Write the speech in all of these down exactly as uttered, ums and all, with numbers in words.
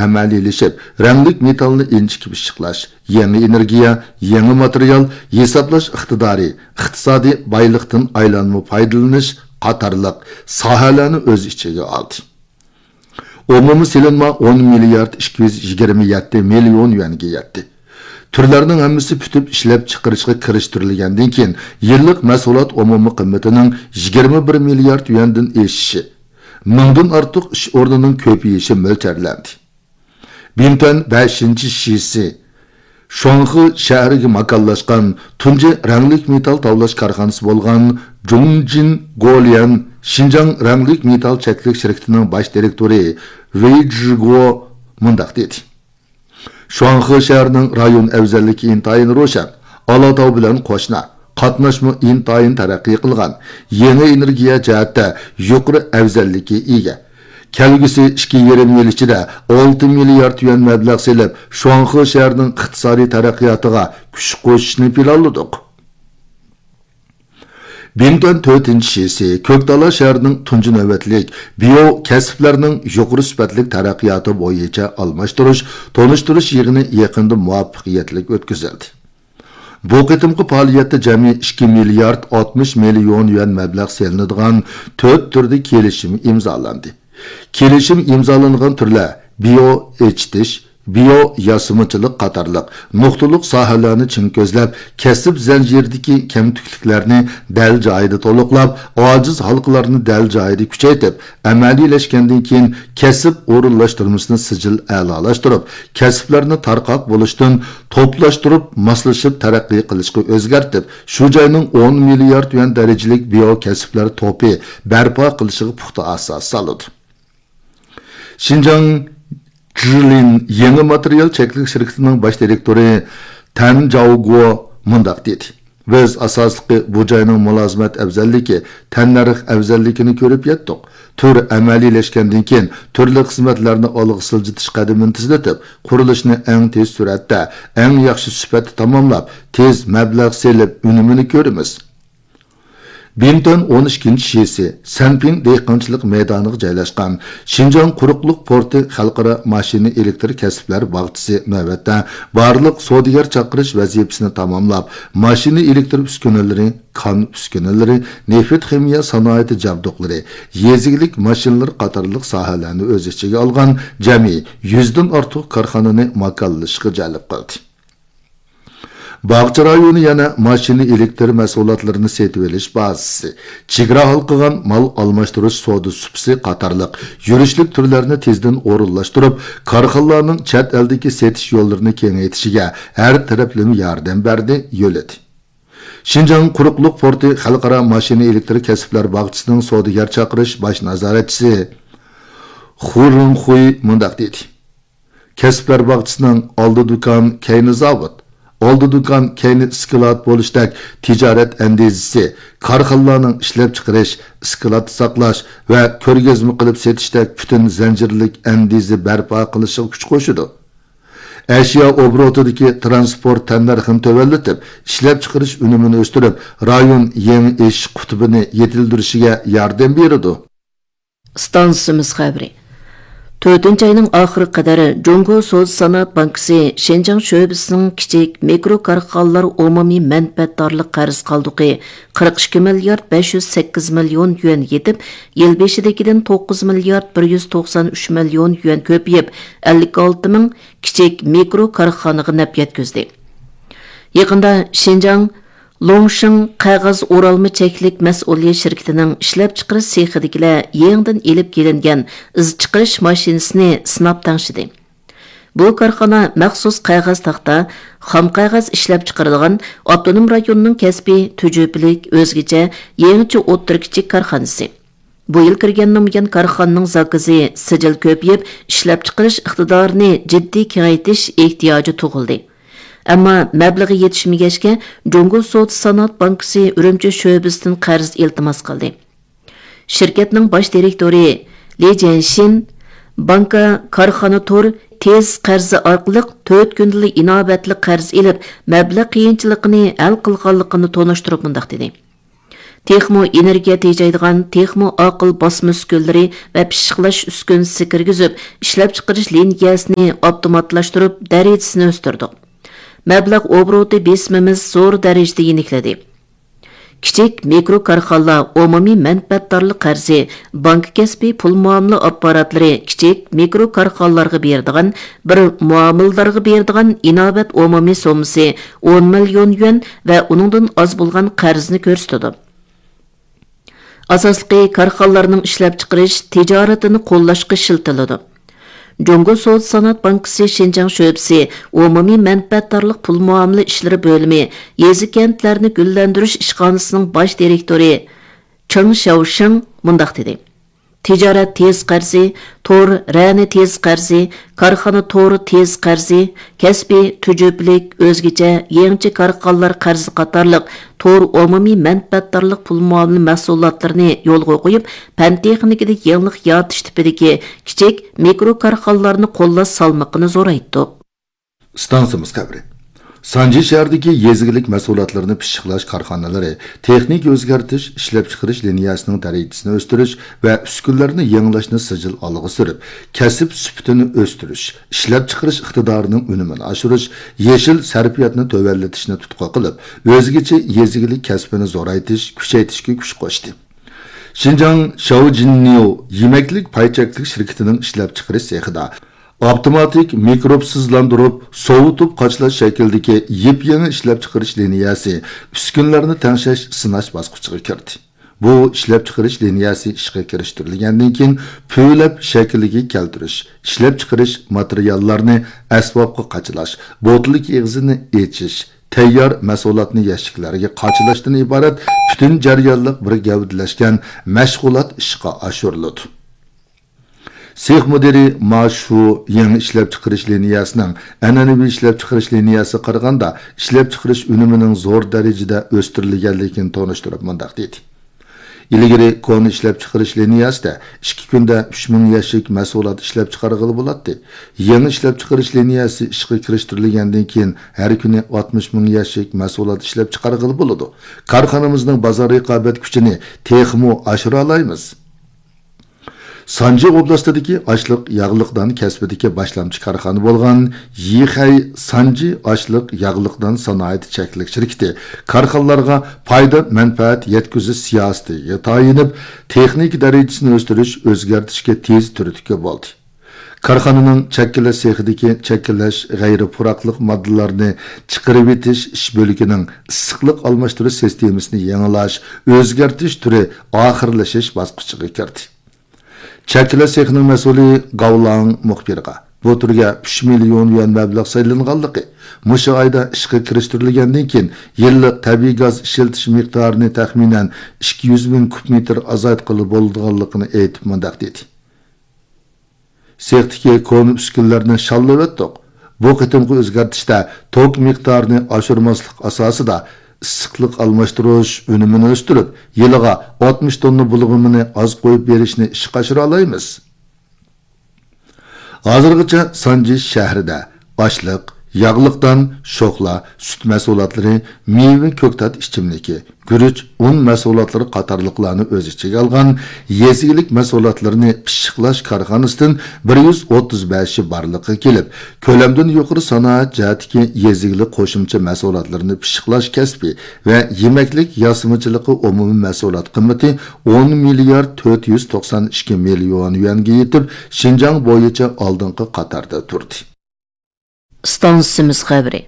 ئەمەلىيلىشىپ، رەڭلىك مېتالنى ئىنچىكە پىششىقلاش، يېڭى ئېنېرگىيە، يېڭى ماتېرىيال، ھېسابلاش ئىقتىدارى، ئىقتىسادىي بايلىقتىن ئايلانما پايدىلىنىش قاتارلىق ساھەلەرنى ئۆز ئىچىگە ئالدى. ئومۇمىي سېلىنما ئون مىليارد ئىككى يۈز يىگىرمە يەتتە مىليون يۈەنگە يەتتى. تۈرلەرنىڭ ھەممىسى پۈتۈپ ئىشلەپچىقىرىشقا كىرىشتۈرۈلگەندىن كېيىن، يىللىق مەھسۇلات ئومۇمىي قىممىتىنىڭ يىگىرمە بىر مىليارد يۈەندىن ئېشىشى، مىڭدىن ئارتۇق ئىش ئورنىنىڭ كۆپىيىشى مۆلچەرلەندى. بىمتۈەن بەشىنچى شىسى شۇاڭخې شەھىرىگە ماكانلاشقان تۇنجى رەڭلىك مېتال تاۋلاش كارخانىسى بولغان جۇڭجىن گوليەن شىنجاڭ رەڭلىك مېتال چەكلىك شىركىتىنىڭ باش دىرېكتورى ۋېي جىگو مۇنداق دېدى: شۇاڭخې شەھىرىنىڭ رايون ئەۋزەللىكى ئىنتايىن روشەن، ئالاتاۋ بىلەن قوشنا، قاتناشمۇ ئىنتايىن تەرەققىي قىلغان، يېڭى ئېنېرگىيە جەھەتتە يۇقىرى ئەۋزەللىككە ئىگە. كەلگۈسى ئىككى يېرىم يىل ئىچىدە ئالتە مىليارد يۈەن مەبلەغ سېلىپ، شۇاڭخې شەھىرىنىڭ ئىقتىسادىي تەرەققىياتىغا كۈچ قوشۇشنى پىلانلىدۇق. بىمتۈەن تۆتىنچى شىسى كۆكتالا شەھىرىنىڭ تۇنجى نۆۋەتلىك بىيو كەسىپلەرنىڭ يۇقىرى سۈپەتلىك تەرەققىياتى بويىچە ئالماشتۇرۇش، تونۇشتۇرۇش يىغىنى يېقىندا مۇۋەپپەقىيەتلىك ئۆتكۈزۈلدى. بۇ قېتىمقى پائالىيەتتە جەمئىي ئىككى مىليارد ئاتمىش مىليون يۈەن مەبلەغ سېلىنىدىغان تۆت تۈردە كېلىشىم ئىمزالاندى. كېلىشىم ئىمزالانغان تۈرلەر بىيو ئېچىتىش، بىيو ياسىمىچىلىق قاتارلىق نۇقتىلىق ساھەلەرنى چىڭ كۆزلەپ، كەسىپ زەنجىرىدىكى كەمتۈكلۈكلەرنى دەل جايىدا تولۇقلاپ، ئاجىز ھالقىلارنى دەل جايىدا كۈچەيتىپ، ئەمەلىيلەشكەندىن كېيىن، كەسىپ ئورۇنلاشتۇرمىسىنى سىجىل ئەلالاشتۇرۇپ، كەسىپلەرنى تارقاق بولۇشتىن توپلاشتۇرۇپ، ماسلىشىپ تەرەققىي قىلىشقا ئۆزگەرتىپ، شۇ جاينىڭ ئون مىليارد يۈەن دەرىجىلىك بىيو كەسىپلەر توپى بەرپا قىلىشىغا پۇختا ئاساس سالىدۇ. شىنجاڭ جىلىن يېڭى ماتېرىيال چەكلىك شىركىتىنىڭ باش دىرېكتورى تەن جاۋگو مۇنداق دېدى: بىز ئاساسلىقى بۇ جاينىڭ مۇلازىمەت ئەۋزەللىكى، تەننەرخ ئەۋزەللىكىنى كۆرۈپ يەتتۇق. تۈر ئەمەلىيلەشكەندىن كېيىن، تۈرلۈك خىزمەتلەرنى ئالغا سىلجىتىش قەدىمىنى تېزلىتىپ، قۇرۇلۇشنى ئەڭ تېز سۈرئەتتە، ئەڭ ياخشى سۈپەتتە تاماملاپ، تېز مەبلەغ سېلىپ، ئۈنۈمىنى كۆرىمىز. بىمتۈەن ئون ئىككىنچى شىسى سەنپىڭ دېھقانچىلىق مەيدانىغا جايلاشقان شىنجاڭ قۇرۇقلۇق پورتى خەلقئارا ماشىنا ئېلېكتر كەسىپلەر باغچىسى نۆۋەتتە بارلىق سودىگەر چاقىرىش ۋەزىپىسىنى تاماملاپ، ماشىنا ئېلېكتر ئۈسكۈنىلىرى، كان ئۈسكۈنىلىرى، نېفىت خىمىيە سانائىتى جابدۇقلىرى، يېزا ئىگىلىك ماشىنىلىرى قاتارلىق ساھەلەرنى ئۆز ئىچىگە ئالغان جەمئىي يۈزدىن ئارتۇق كارخانىنى ماكانلىشىشقا جەلپ قىلدى. باغچە رايونى يەنە ماشىنا ئېلېكتر مەھسۇلاتلىرىنى سېتىۋېلىش بازىسى، چېگرا ھالقىغان مال ئالماشتۇرۇش سودا سۇپىسى قاتارلىق يۈرۈشلۈك تۈرلەرنى تېزدىن ئورۇنلاشتۇرۇپ، كارخانىلارنىڭ چەت ئەلدىكى سېتىش يوللىرىنى كېڭەيتىشىگە ھەر تەرەپلىمە ياردەم بەردى، يۆلىدى. شىنجاڭ قۇرۇقلۇق پورتى خەلقئارا ماشىنا ئېلېكتر كەسىپلەر باغچىسىنىڭ سودىگەر چاقىرىش باش نازارەتچىسى خۇ رېڭخۇي مۇنداق دېدى: كەسىپلەر باغچىسىنىڭ ئالدى دۇكان، كەينى زاۋۇت، ئالدى دۇكان، كەينى ئىسكىلات بولۇشتەك تىجارەت ئەندىزىسى، كارخانىلارنىڭ ئىشلەپچىقىرىش، ئىسكىلاتتا ساقلاش ۋە كۆرگەزمە قىلىپ سېتىشتەك پۈتۈن زەنجىرلىك ئەندىزە بەرپا قىلىشىغا كۈچ قوشىدۇ. ئەشيا ئوبوروتىدىكى تىرانسپورت تەننەرخىنى تۆۋەنلىتىپ، ئىشلەپچىقىرىش ئۈنۈمىنى ئۆستۈرۈپ، رايون يېڭى ئېشىش قۇتۇپىنى يېتىلدۈرۈشىگە ياردەم بېرىدۇ. ئىستانسىمىز خەۋىرى. تۆتىنچى ئاينىڭ ئاخىرىغا قەدەر جۇڭگو سودا سانائەت بانكىسى شىنجاڭ شۆبىسىنىڭ كىچىك مىكرو كارخانىلار ئومۇمىي مەنپەئەتدارلىق قەرز قالدۇقى قىرىق ئىككى مىليارد بەش يۈز سەككىز مىليون يۈەن يېتىپ، يىل بېشىدىكىدىن توققۇز مىليارد بىر يۈز توقسان ئۈچ مىليون يۈەن كۆپىيىپ، ئەللىك ئالتە مىڭ كىچىك مىكرو كارخانىغا نەپ يەتكۈزدى. يېقىندا شىنجاڭ لوڭشىڭ قەغەز ئورالما چەكلىك مەسئۇلىيەت شىركىتىنىڭ ئىشلەپچىقىرىش سېخىدىكىلەر يېڭىدىن ئېلىپ كېلىنگەن ئىز چىقىرىش ماشىنىسىنى سىناپ تەڭشىدى. بۇ كارخانا مەخسۇس قەغەز تاختا، خام قەغەز ئىشلەپچىقىرىدىغان ئاپتونوم رايوننىڭ كەسپىي تۈجۈپىلىك ئۆزگىچە يېڭىچە ئوتتۇرا كىچىك كارخانىسى. بۇ يىل كىرگەن نامايان كارخانىنىڭ زاكىزى سىجىل كۆپىيىپ، ئىشلەپچىقىرىش ئىقتىدارىنى جىددىي كېڭەيتىش ئېھتىياجى تۇغۇلدى. ئەمما مەبلىغى يېتىشمىگەچكە، جۇڭگو سودا سانائەت بانكىسى ئۈرۈمچى شۆبىسىدىن قەرز ئىلتىماس قىلدى. شىركەتنىڭ باش دىرېكتورى لى جيەنشىن بانكا كارخانا تور تېز قەرزى ئارقىلىق تۆت كۈندىلا ئىناۋەتلىك قەرز ئېلىپ، مەبلەغ قىيىنچىلىقىنى ھەل قىلغانلىقىنى تونۇشتۇرۇپ مۇنداق دېدى: تېخىمۇ ئېنېرگىيە تېجەيدىغان، تېخىمۇ ئاقىل باسما ئۈسكۈنىلىرى ۋە پىششىقلاش ئۈسكۈنىسى كىرگۈزۈپ، ئىشلەپچىقىرىش لىنىيەسىنى ئاپتوماتلاشتۇرۇپ، دەرىجىسىنى ئۆستۈردۇق. مەبلەغ ئوبوروتى بېسىمىمىز زور دەرىجىدە يېنىكلىدى. كىچىك، مىكرو كارخانىلار ئومۇمىي مەنپەئەتدارلىق قەرزى، بانكا كەسپى پۇل مۇئامىلە ئاپپاراتلىرى كىچىك، مىكرو كارخانىلارغا بېرىدىغان، بىر مۇئامىلىدارغا بېرىدىغان ئىناۋەت ئومۇمىي سوممىسى ئون مىليون يۈەن ۋە ئۇنىڭدىن ئاز بولغان قەرزنى كۆرسىتىدۇ. ئاساسلىقى كارخانىلارنىڭ ئىشلەپچىقىرىش تىجارىتىنى قوللاشقا ئىشلىتىلىدۇ. جۇڭگو سودا سانائەت بانكىسى شىنجاڭ شۆبىسى ئومۇمىي مەنپەئەتدارلىق پۇل مۇئامىلە ئىشلىرى بۆلۈمى يېزا كەنتلەرنى گۈللەندۈرۈش ئىشخانىسىنىڭ باش دىرېكتورى چېڭ شياۋشىڭ مۇنداق دېدى: تىجارەت تېز قەرزى، تور رەنە تېز قەرزى، كارخانا تورى تېز قەرزى، كەسپىي، تۈجۈپىلىك، ئۆزگىچە، يېڭىچە كارخانىلار قەرزى قاتارلىق تور ئومۇمىي مەنپەئەتدارلىق پۇل مۇئامىلە مەھسۇلاتلىرىنى يولغا قويۇپ، پەن تېخنىكىدا يېڭىلىق يارىتىش تىپىدىكى كىچىك، مىكرو كارخانىلارنى قوللاش سالمىقىنى زورايتتۇق. ئىستانسىمىز خەۋىرى. سانجى شەھىرىدىكى يېزا ئىگىلىك مەھسۇلاتلىرىنى پىششىقلاش كارخانىلىرى تېخنىكا ئۆزگەرتىش، ئىشلەپچىقىرىش لىنىيەسىنىڭ دەرىجىسىنى ئۆستۈرۈش ۋە ئۈسكۈنىلەرنى يېڭىلاشنى سىجىل ئالغا سۈرۈپ، كەسىپ سۈپىتىنى ئۆستۈرۈش، ئىشلەپچىقىرىش ئىقتىدارىنىڭ ئۈنۈمىنى ئاشۇرۇش، يېشىل سەرپىياتنى تۆۋەنلىتىشنى تۇتقا قىلىپ، ئۆزگىچە يېزا ئىگىلىك كەسپىنى زورايتىش، كۈچەيتىشكە كۈچ قوشتى. شىنجاڭ شياۋجىننيۇ يېمەكلىك پاي چەكلىك شىركىتىنىڭ ئىشلەپچىقىرىش سېخىدا ئاپتوماتىك مىكروبسىزلاندۇرۇپ، سوۋۇتۇپ قاچىلاش شەكلىدىكى يېپيېڭى ئىشلەپچىقىرىش لىنىيەسى ئۈسكۈنىلەرنى تەڭشەش، سىناش باسقۇچىغا كىردى. بۇ ئىشلەپچىقىرىش لىنىيەسى ئىشقا كىرىشتۈرۈلگەندىن كېيىن، پۈۋلەپ شەكلىگە كەلتۈرۈش، ئىشلەپچىقىرىش ماتېرىياللارنى ئەسۋابقا قاچىلاش، بوتۇلكا ئېغىزىنى ئېچىش، تەييار مەھسۇلاتنى يەشىكلەرگە قاچىلاشتىن ئىبارەت پۈتۈن جەريانلىق بىر گەۋدىلەشكەن مەشغۇلات ئىشقا ئاشۇرۇلىدۇ. سېخ مۇدىرى ما شۇ يېڭى ئىشلەپچىقىرىش لىنىيەسىنىڭ ئەنئەنىۋى ئىشلەپچىقىرىش لىنىيەسىگە قارىغاندا، ئىشلەپچىقىرىش ئۈنۈمىنىڭ زور دەرىجىدە ئۆستۈرۈلگەنلىكىنى تونۇشتۇرۇپ مۇنداق دېدى: ئىلگىرى كونا ئىشلەپچىقىرىش لىنىيەسىدە ئىككى كۈندە ئۈچ مىڭ يەشىك مەھسۇلات ئىشلەپچىقارغىلى بولاتتى. يېڭى ئىشلەپچىقىرىش لىنىيەسى ئىشقا كىرىشتۈرۈلگەندىن كېيىن، ھەر كۈنى ئاتمىش مىڭ يەشىك مەھسۇلات ئىشلەپچىقارغىلى بولىدۇ. كارخانىمىزنىڭ بازار رىقابەت كۈچىنى تېخىمۇ ئاشۇرالايمىز. سانجى ئوبلاستىدىكى ئاشلىق ياغلىق دان كەسپىدىكى باشلامچى كارخانا بولغان يىخەي سانجى ئاشلىق ياغلىق دان سانائىتى چەكلىك شىركىتى كارخانىلارغا پايدا مەنپەئەت يەتكۈزۈش سىياسىتىگە تايىنىپ، تېخنىكا دەرىجىسىنى ئۆستۈرۈش، ئۆزگەرتىشكە تېز تۈرتكە بولدى. كارخانىنىڭ چەككىلەش سېخىدىكى چەككىلەش غەيرىي پۇراقلىق ماددىلارنى چىقىرىۋېتىش ئىش بۆلىكىنىڭ ئىسسىقلىق ئالماشتۇرۇش سىستېمىسىنى يېڭىلاش، ئۆزگەرتىش تۈرى ئاخىرلىشىش باسقۇچىغا كىردى. چەككىلەش سېخىنىڭ مەسئۇلى گاۋلاڭ مۇخبىرغا بۇ تۈرگە ئۈچ مىليون يۈەن مەبلەغ سېلىنغانلىقى، مۇشۇ ئايدا ئىشقا كىرىشتۈرۈلگەندىن كېيىن يىللىق تەبىئىي گاز ئىشلىتىش مىقدارىنى تەخمىنەن ئىككى يۈز مىڭ كۇب مېتىر ئازايتقىلى بولىدىغانلىقىنى ئېيتىپ مۇنداق دېدى: سېختىكى كونا ئۈسكۈنىلەرنى شاللىۋەتتۇق. بۇ قېتىمقى ئۆزگەرتىشتە توك مىقدارىنى ئاشۇرماسلىق ئاساسىدا ئىسسىقلىق ئالماشتۇرۇش ئۈنۈمىنى ئۆستۈرۈپ، يىلىغا ئاتمىش توننا بۇلغىمىنى ئاز قويۇپ بېرىشنى ئىشقا ئاشۇرالايمىز. ھازىرغىچە سانجى شەھىرىدە ئاشلىق، ياغلىق دان، شوخلا، سۈت مەھسۇلاتلىرى، مېۋە، كۆكتات ئىچىملىكى، گۈرۈچ، ئۇن مەھسۇلاتلىرى قاتارلىقلارنى ئۆز ئىچىگە ئالغان يېزا ئىگىلىك مەھسۇلاتلىرىنى پىششىقلاش كارخانىسىدىن بىر يۈز ئوتتۇز بەشى بارلىققا كېلىپ، كۆلەمدىن يۇقىرى سانائەت جەھەتتىكى يېزا ئىگىلىك قوشۇمچە مەھسۇلاتلىرىنى پىششىقلاش كەسپى ۋە يېمەكلىك ياسىمىچىلىقى ئومۇمىي مەھسۇلات قىممىتى ئون مىليارد تۆت يۈز توقسان ئىككى مىليون يۈەنگە يېتىپ، شىنجاڭ بويىچە ئالدىنقى قاتاردا تۇردى. ئىستانسىمىز خەۋىرى.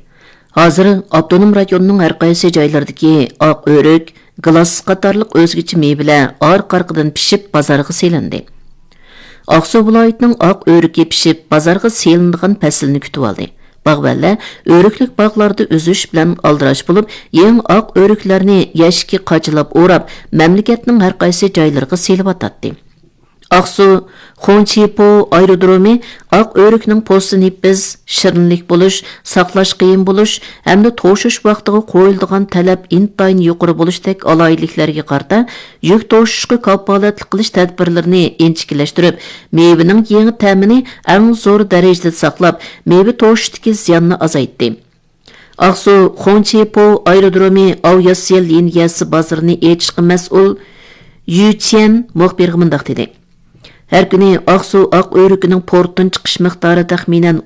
ھازىر ئاپتونوم رايوننىڭ ھەر قايسى جايلىرىدىكى ئاق ئۆرۈك، گىلاس قاتارلىق ئۆزگىچە مېۋىلەر ئارقا-ئارقىدىن پىشىپ بازارغا سېلىندى. ئاقسۇ ۋىلايىتىنىڭ ئاق ئۆرۈكى پىشىپ بازارغا سېلىنىدىغان پەسىلنى كۈتۈۋالدى. باغۋەنلەر ئۆرۈكلۈك باغلاردا ئۈزۈش بىلەن ئالدىراش بولۇپ، يېڭى ئاق ئۆرۈكلەرنى يەشىككە قاچىلاپ ئوراپ، مەملىكەتنىڭ ھەر قايسى جايلىرىغا سېلىۋاتاتتى. ئاقسۇ خۇڭچىپو ئايرودرومى ئاق ئۆرۈكنىڭ پوستى نېپىز، شېرىنلىك بولۇش، ساقلاش قىيىن بولۇش ھەمدە توشۇش ۋاقتىغا قويۇلىدىغان تەلەپ ئىنتايىن يۇقىرى بولۇشتەك ئالاھىدىلىكلەرگە قارىتا، يۈك توشۇشقا كاپالەتلىك قىلىش تەدبىرلىرىنى ئىنچىكىلەشتۈرۈپ، مېۋىنىڭ يېڭى تەمىنى ئەڭ زور دەرىجىدە ساقلاپ، مېۋە توشۇشتىكى زىياننى ئازايتتى. ئاقسۇ خۇڭچىپو ئايرودرومى ئاۋىئاتسىيە لىنىيەسى بازىرىنى ئېچىشقا مەسئۇل يۈ چيەن مۇخبىرغا مۇنداق دېدى: ھەر كۈنى ئاقسۇ ئاق ئۆرۈكىنىڭ پورتتىن چىقىش مىقدارى تەخمىنەن